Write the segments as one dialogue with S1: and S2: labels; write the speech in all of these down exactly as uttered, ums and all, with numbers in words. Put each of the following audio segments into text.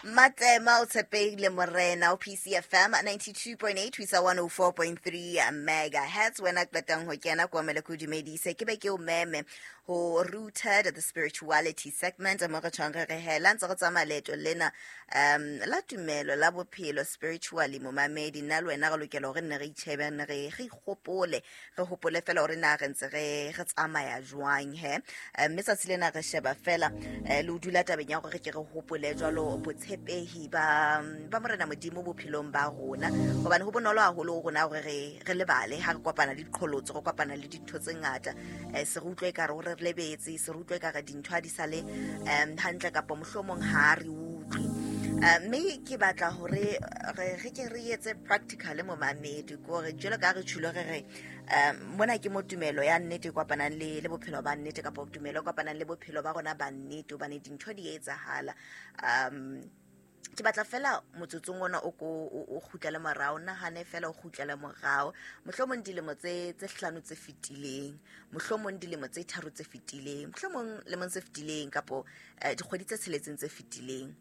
S1: Matsema o tshepehile morena o P C F M ninety-two point eight ho isa one oh four point three megahertz. Wena qetang ho kena kwa mele ko dumedise ke be ke o meme ho Rooted the Spirituality segment mo re tshwang re re hela ntse re tsamaya leeto lena um la tumelo la bophelo spiritually momamedi nna le wena re lokela hore nne re itjhebe nne re re ikgopole re hopole fela hore na re ntse re re tsamaya jwang he. Mme tsatsi lena re sheba fela le o dula tabeng ya hore re ke re hopole jwalo botshepehi ba ba morena Modimo bophelong ba rona, hobane ho bonolo haholo ho rona hore re re lebale ha re kopana le diqholotso, re kopana le dintho tse ngata, se re utlwe ekare hore re lebetse, se re utlwe ekare dintho ha di sale um hantle kapa mohlomong ha re utlwe. Mme ke batla hore re re ke re etse practical momamedi kore jwalo ka re tjhulo re re um mona ke mo tumelo ya nnete kopanang le le bophelo ba nnete kapa tumelo kopanang le bophelo ba rona ba nnete, hobane dintho di etsahala. Um ke batla fela motsotsong ona o ko o kgutlele morao, nahane fela o kgutlele morao mohlomong dilemo tse tse hlano tse fetileng, mohlomong dilemo tse tharo tse fetileng, mohlomong lemong tse fetileng kapo dikgwedi tse tsheletseng tse fetileng.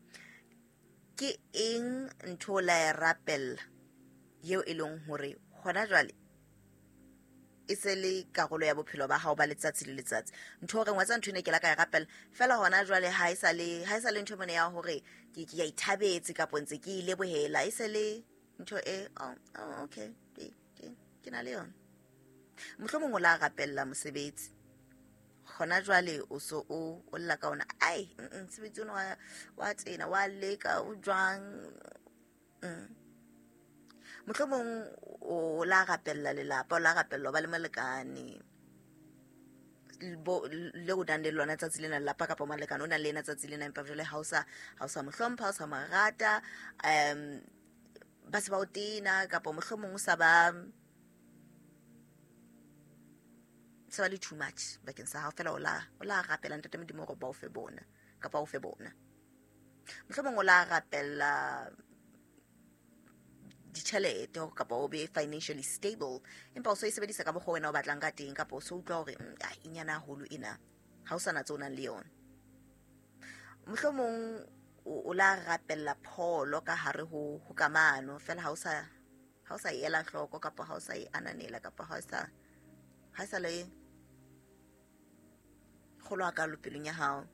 S1: Ke eng ntho la e rapella eo e leng hore hona jwale e se le karolo ya bophelo ba hao ba letsatsi le letsatsi? Ntho re ngwatsa ntho ene ke la ka e rapella fela hona jwale ha e sa le ha e sa le ntho mone ya hore ke ke ya ithabetse kapo ntse ke ile bohela, e se le ntho e oh, oh okay ke ke na le yona. Mohlomong o la rapella mosebetsi hona jwale o so o o lla ka ona, ai mosebetsi ona wa wa tsena wa leka o jwang. Mohlomong o la rapella lelapa, o la rapella ba le molekane le o nang le lona tsatsi lena lelapa kapa molekane o nang le yena tsatsi lena, empa jwale ha o sa ha o sa mo hlompha, ha o sa mo rata, um ba se ba o tena kapa mohlomong o sa ba se ba le too much bakeng sa hao fela, o la o la rapela ntate Modimo hore ba o fe bona kapa o fe bona. Mohlomong o la rapella ditjhelete kapa o be financially stable, empa o so e sebedisa ka mokgwa wena o batlang ka teng, kapa o so utlwa hore e nyana haholo ena, ha o sa na tse o nang le yona. Mohlomong o la rapella pholo ka hare ho ho kamano fela, ha o sa ha o sa e ela hloko kapa ha o sa e ananela kapa ha o sa ha sa le kgolo a ka pelong ya hao.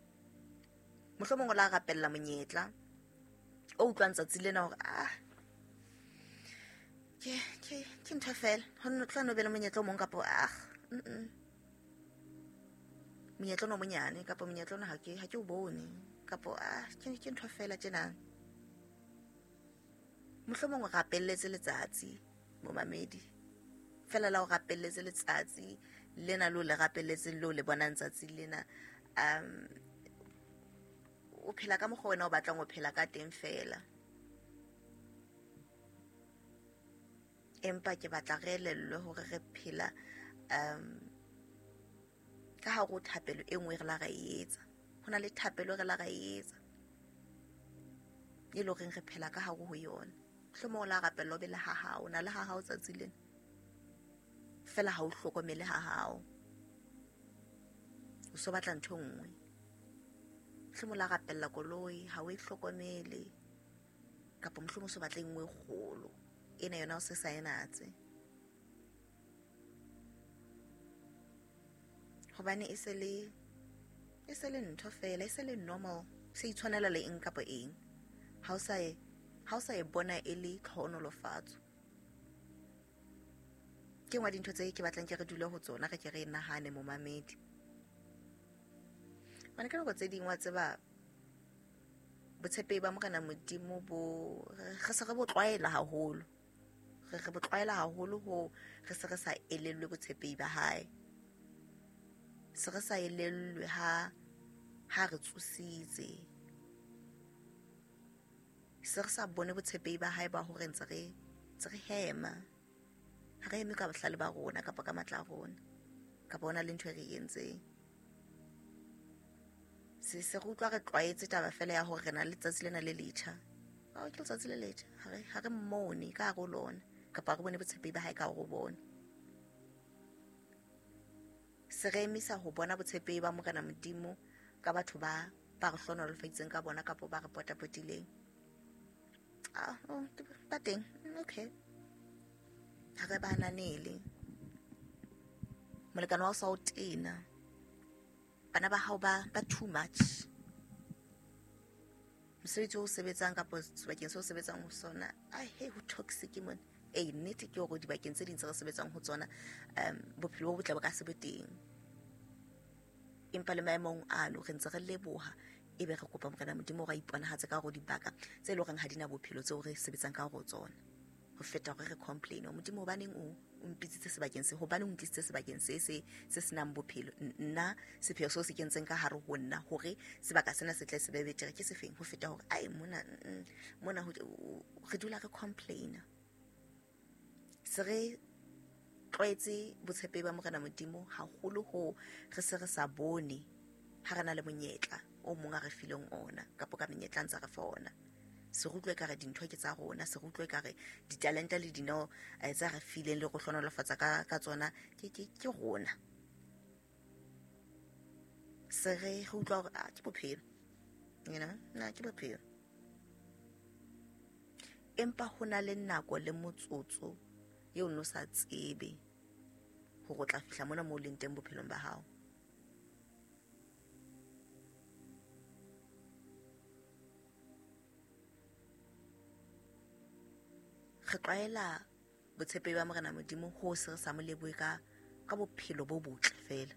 S1: Mohlomong o la rapella monyetla o utlwang tsatsi lena hore ah ke ke ke ntho fela ho no tla no be le monyetla o mong kapa ah mm monyetla no monyane kapa monyetla ona ha ke ha ke o bone kapa ah ke ke ntho fela tjena. Mohlomong o rapelletse letsatsi momamedi fela la o rapelletse letsatsi lena lo le rapelletse lo le bonang tsatsi lena, um o phela ka mokgwa wena o batlang o phela ka teng fela. Empa ke batla re elellwe hore re phela um ka hare ho thapelo e nngwe re la ra e etsa. Ho na le thapelo re la ra e etsa e le horeng re phela ka hare ho yona. Mohlomong o la rapella o be le ha hao, o na le ha hao tsatsi lena fela ha o hlokomele ha hao, o so batla ntho e nngwe. Mohlomong o la rapella koloi ha o e hlokomele, kapa mohlomong o so batla e nngwe e kgolo ena yona o se sa e natse, hobane e se le e se le ntho fela, e se le normal, se itshwanela le eng kapa eng. Ha o sa e ha o sa e bona e le tlhohonolofatso. Ke nngwe ya dintho tse ke batlang ke re dule ho tsona, re ke re nahane momamedi. Hobane ka nako tse ding wa tseba botshepehi ba morena Modimo bo re se re bo tlwaela haholo, re re bo tlwaela haholo ho re se re sa elellwe botshepehi ba hae, se re sa elellwe ha ha re tsositse, se re sa bone botshepehi ba hae ba hore ntse re ntse re hema, ha re eme ka bohlale ba rona kapa ka matla a rona kapa hona le ntho e re entseng. Se se re utlwa re tlwaetse taba fela ya hore re na le letsatsi lena le letjha, oh ke letsatsi le letjha, ha re ha re mmone ka hare ho lona kapa re bone botshepehi ba hae ka hare ho bona. Se re emisa ho bona botshepehi ba morena Modimo ka batho ba ba re hlohonolofaditseng ka bona kapa ba re potapotileng. Ah, oh, ba teng, okay. Ha re ba ananele. Molekane wa hao sa o tena. Bana ba hao ba ba too much. Mosebetsi o sebetsang kapa sebakeng seo sebetsang ho sona, ai he ho toxic mona. Eh, nnete ke hore dibakeng tse ding tse re sebetsang ho tsona, um bophelo bo botle bo ka se be teng. Empa le maemong ano re ntse re leboha, ebe re kopa Morena Modimo hore a iponahatse ka hore dibaka tse leng hore ha di na bophelo tseo re sebetsang ka hore tsona. Ho feta hore re complain, Modimo hobaneng o o mpitsitse sebakeng se, hobaneng o ntlisitse sebakeng se se se senang bophelo. Nna sepheo seo se kentseng ka hare ho nna hore sebaka sena se tle se be betere ke sefeng, ho feta hore ai mona mona re dula re complain. Se re tlwaetse botshepehi ba Morena Modimo haholo ho re se re sa bone ha re na le monyetla o mong a re fileng ona kapa ka menyetla ntse re fa ona. Se re utlwe ekare dintho ke tsa rona, se re utlwe ekare ditalente le dineo tsa re fileng le go hlonolofatsa ka ka tsona ke ke ke rona. Se re re utlwa hore ah ke bophelo, you know, na ke bophelo. Empa ho na le nako le motsotso eo no sa tsebe hore o tla fihla mona moo leng teng bophelong ba hao. Re tlwaela botshepehi ba Morena Modimo ho se re sa mo lebohe ka ka bophelo bo botle fela.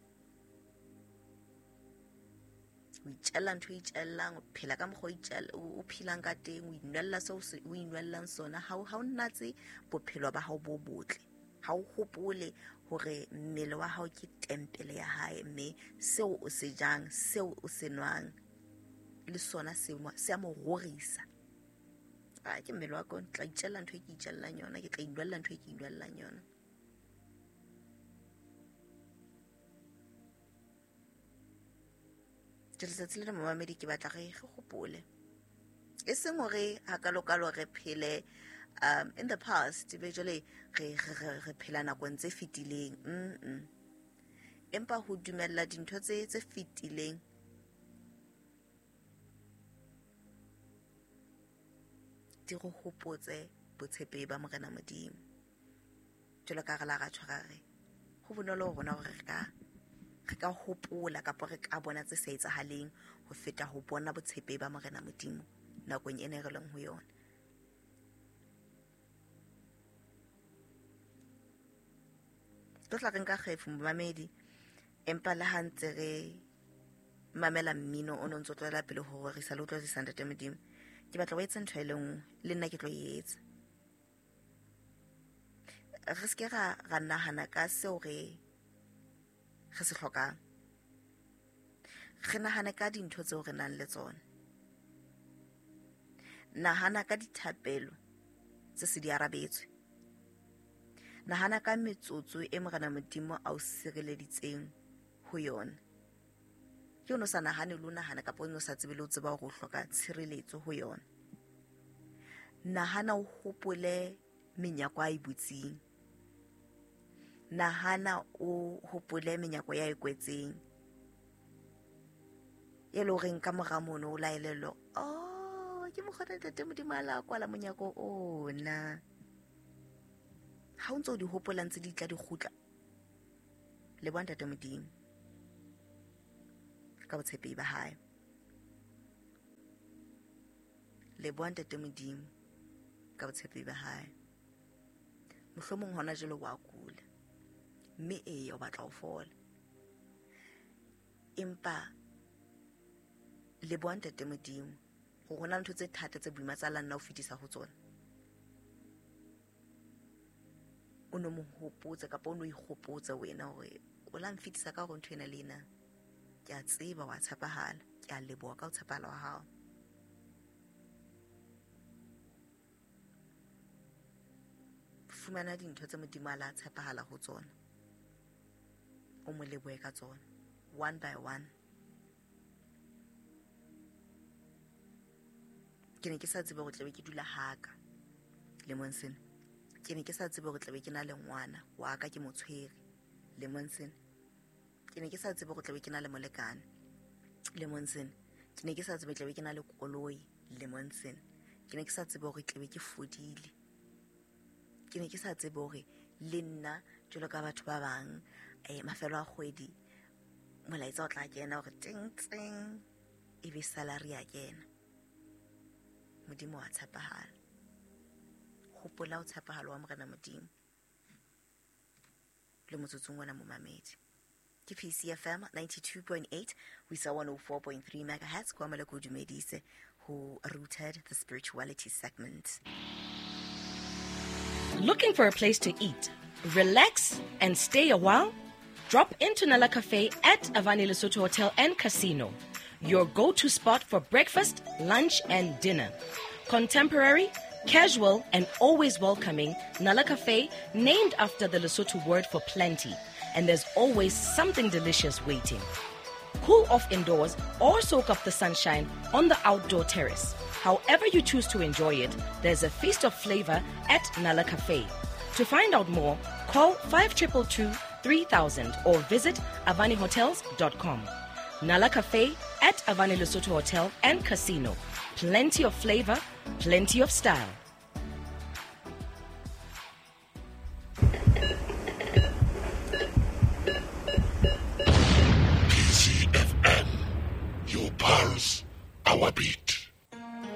S1: O itjella ntho e itjellang, o phela ka mokgwa o itjella o phelang ka teng, o inwella seo o inwellang sona. Ha o ha o natse bophelo ba hao bo botle. Ha o hopole hore mmele wa hao ke tempele ya hae, mme seo o se jang, seo o se nwang le sona se se a mo rorisa. Ah, ke mmele wa ka, tla itjella ntho e ke itjellang yona, ke tla inwella ntho e ke inwellang yona. Letsatsi lena momamedi ke batla re re hopole, e seng hore hakalokalo re phele um in the past, be jwale re re re phela nakong tse fetileng. Mm empa ho dumella dintho tse tse fetileng di re hopotse botshepehi ba Morena Modimo. Jwalo ka re la ra tshwara re ho bonolo ho rona hore re ka re ka hopola kapa re ka bona tse sa etsahaleng ho feta ho bona botshepehi ba Morena Modimo nakong ena e re leng ho yona. Tlo tla re nka kgefu momamedi, empa le ha ntse re mamela mmino o no ntso tswela pele ho rorisa le ho tlotlisa Ntate Modimo, ke batla o etse ntho e le nngwe le nna ke tlo e etsa. Re se ke ra ra nahana ka seo re re se hlokang, re nahane ka dintho tseo re nang le tsona. Nahana ka dithapelo tse se di arabetswe. Nahana ka metsotso e Morena Modimo a o sireleditseng ho yona. Ke o no sa nahane le o nahana kapa o no sa tsebe le o tseba hore o hloka tshireletso ho yona. Nahana o hopole menyako a e butseng. Nahana o hopole menyako ya e kwetseng, e le horeng ka mora mono o laelelo, oh ke mokgwa Ntate Modimo a la kwala monyako ona. Ha o ntso o di hopola ntse di tla di kgutla, leboha Ntate Modimo ka botshepehi ba hae. Leboha Ntate Modimo ka botshepehi ba hae. Mohlomong hona jwale wa kula, mme eya o batla ho fola, empa leboha Ntate Modimo hore hona ntho tse thata tse boima tsa la nna o fetisa ho tsona. O no mo hopotse kapa o no ikgopotse wena hore o la mfetisa ka hore ntho ena le ena. Ke a tseba wa tshepahala, ke a leboha ka ho tshepahala wa hao. Fumana dintho tse Modimo a la tshepahala ho tsona, o mo lebohe ka tsona one by one. Ke ne ke sa tsebe hore tlabe ke dula haka lemong sena. Ke ne ke sa tsebe hore tlabe ke na le ngwana wa ka ke mo tshwere lemong sena. Ke ne ke sa tsebe hore tlabe ke na le molekane lemong sena. Ke ne ke sa tsebe tlabe ke na le koloi lemong sena. Ke ne ke sa tsebe hore tlebe ke fodile. Ke ne ke sa tsebe hore le nna jwalo ka batho ba bang eh mafelo a kgwedi molaetsa o tla kena hore ting ting e be salary ya kena. Modimo wa tshepahala. Hopola o tshepahala wa Morena Modimo. Le motsotsong ona momamedi. Ke P C F M ninety-two point eight ho isa one oh four point three megahertz kwa Maloko Dumedise ho Rooted, the spirituality segment.
S2: Looking for a place to eat, relax and stay a while? Drop into Nala Cafe at Avani Lesotho Hotel and Casino, your go-to spot for breakfast, lunch and dinner. Contemporary, casual and always welcoming, Nala Cafe, named after the Lesotho word for plenty, and there's always something delicious waiting. Cool off indoors or soak up the sunshine on the outdoor terrace. However you choose to enjoy it, there's a feast of flavor at Nala Cafe. To find out more, call five two two two, three thousand or visit avani hotels dot com. Nala Cafe at Avani Lesotho Hotel and Casino. Plenty of flavor, plenty of style.